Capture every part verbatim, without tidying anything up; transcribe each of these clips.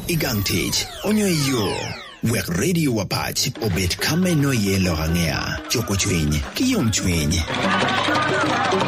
I gang tic, onyo i yo. Wek radio Apac obed ka ma inongo iye lok angea, cuko cwiny, ki yomcwiny.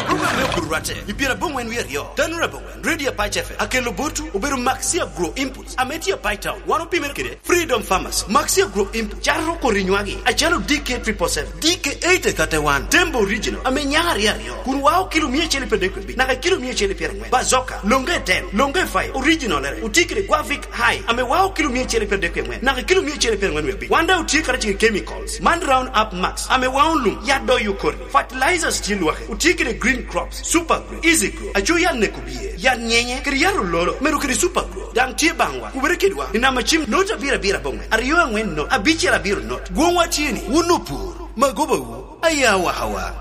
Program me Opur Rwatte i pyerabongwen wiye aryo Tano Rabongwen Radio Apac F M akelo botu obedo Maxi Agro Inputs ame tye Apac Town wan opimere kede Freedom Pharmacy Maxi Agro Input cato kori nywagi acalo D K triple seven D K eight thirty one Tembo Original ame nyaka aryo aryo kun wao kilo mia acel pyeradek wiye abic naka kilo mia acel pyerangwen Bazooka Longe ten Longe five Original ere otye kede Guavic High ame wao kilo mia acel pyeradek wiye angwen naka kilo mia acel pyerangwen wiye abic Wanda otye karacel ki chemicals man Round Up Max ame wao lum yat doyo kori fertilizers tye lwake otye kede green crops super grow easy grow aco yat neko biye yat nyenye kede yat ololo medo kede super grow dang tye bangwa kubere kedwa i namba cim nought abiro abiro abongwen aryo angwen nought abicel abiro nought gwongwa tye ni wun opur magobawu aya wakawa.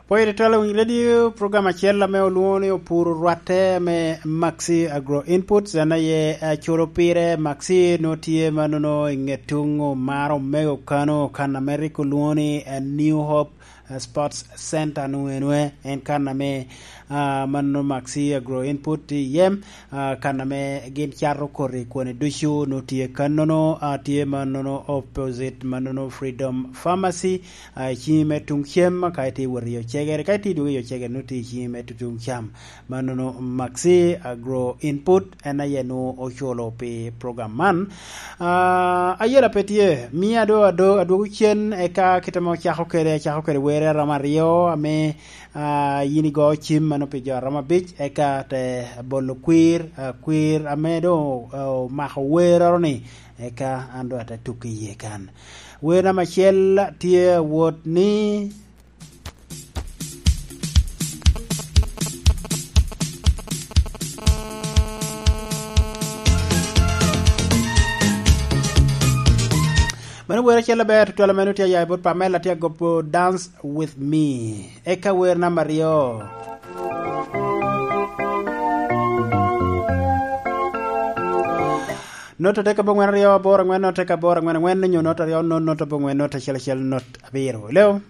Poyere twelo winyo radio program acel ame olwongo ni opur rwatte me Maxi Agro Inputs en aye aculo pire Maxi no tye ma nono i nget tung omaro omego kano kan ame rik olwongo ni New Hope Sports Center nu enue en kan ame uh, ma nono Maxi Agro Input tye iye uh, kan ame gin cato koti kwone ducu no tye kanono uh, tye ma nono opposite ma nono Freedom Pharmacy uh, i cingi me tung cem ka itye wot iyo cegere ka itye dwogo iyo cegere no tye i cingi me tung cam ma nono Maxi Agro Input en aye nu oculo pi program man uh, ayela pe tye miya do ado adwogo cen eka kite ma ocako kede acako kede were aromo aryo ame uh, yin igo cim mano pi jo aromo abic eka te bolo kwir uh, kwir ame do omako wer oro ni eka an do ate tuki iye kan wer namba acel tye wot ni Mano wer acel aber tutwal meno tye aya bot Pamela tye agopo Dance with me. Eka wer namba aryo. Nought adek abongwen aryo aboro angwen nought adek aboro angwen angwen nyo nought aryo nought nought abongwen nought achiel achiel nought abiro. Hello?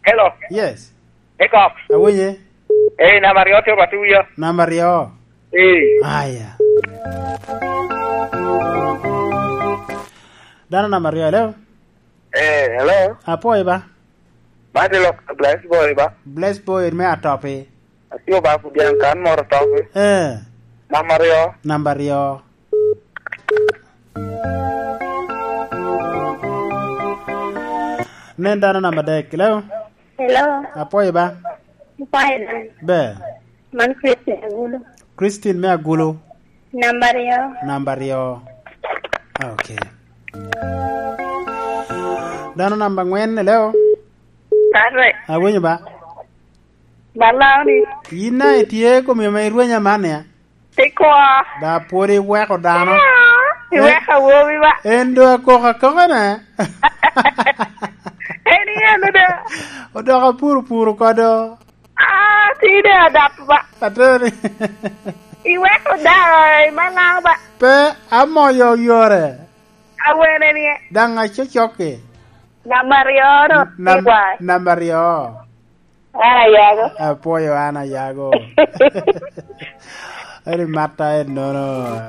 Hello. Yes. Hiccup. Awinye? Eh, namba aryo tye orwatte wiya. Namba aryo. Eh. Aya. Dano namba aryo, hello? Eh, hello. Apoyo ba? Mati lok Bless Boy ba. Bless Boy me atopi. Atio ba kudiang kan moro topi. Eh. Namba aryo. Namba aryo. Nen dano namba adek, hello? Hello. Apoyo ba? Apoyo. Be. Man Christine Agulu. Christine me Agulu. Namba aryo. Namba aryo. Okay. Dano namba angwen, hello? Kare. Awinyo ba? Balawni. In na itye komiyo ma irwenya man ya? Tikwa. Da pwod iweko dano. Iweko awobi ba. En do akoko akoka ne. En iyeno do. Odoko apuro puro kodo. Ah, tide adap ba. Ateri. Iweko da malaw ba. Pe amoyo yore. Awene ni. Dang acocoki. Namba aryo no. Nam- Tikwa. Namba aryo. Ana yago. Apoyo ana yago. Eri mata en nono.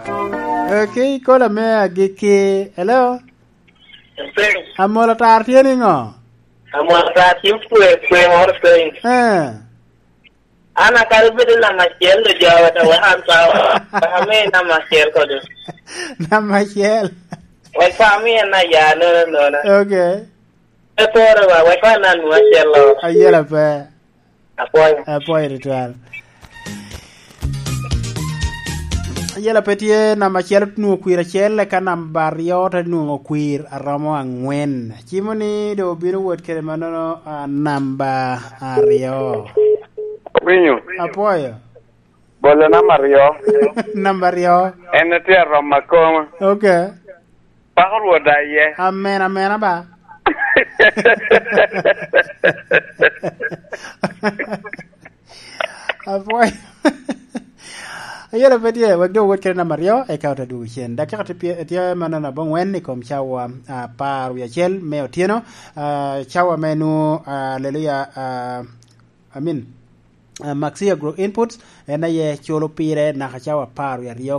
Okay, kola me agiki. Hello? Amola tar tye ni ngo? Amola tar tye kwe kwe moro piny. Eh. An akadi bedo namba acel do jowa to wek an pa wek amiyi namba acel kodo. Namba acel. Wek pa amiye na ya nona nona. Okay. Pe pore ba wek pa nan mu acel lo. Ayela pe. Apoyo. Apoyo tutwal. Ayela pe tye namba acel otingo kwir acel eka namba aryo te nwongo kwir aromo angwen. Cimo ni do obino wot kede manono uh, namba aryo. Winyo. Apoyo. Bolo namba aryo. Namba aryo. En tye aromo akoma. Okay. Pako rwot aye. Amen amen aba. Apoyo. Ayela pe tye wek dong wot kede namba aryo eka ote dwogo cen. Dakika tye tye manono abongwen i kom cawa apar wiye acel me otyeno. Uh, cawa me nwo aleluya uh, I mean, uh, Maxi Agro Inputs en aye culo pire naka cawa apar wiye aryo.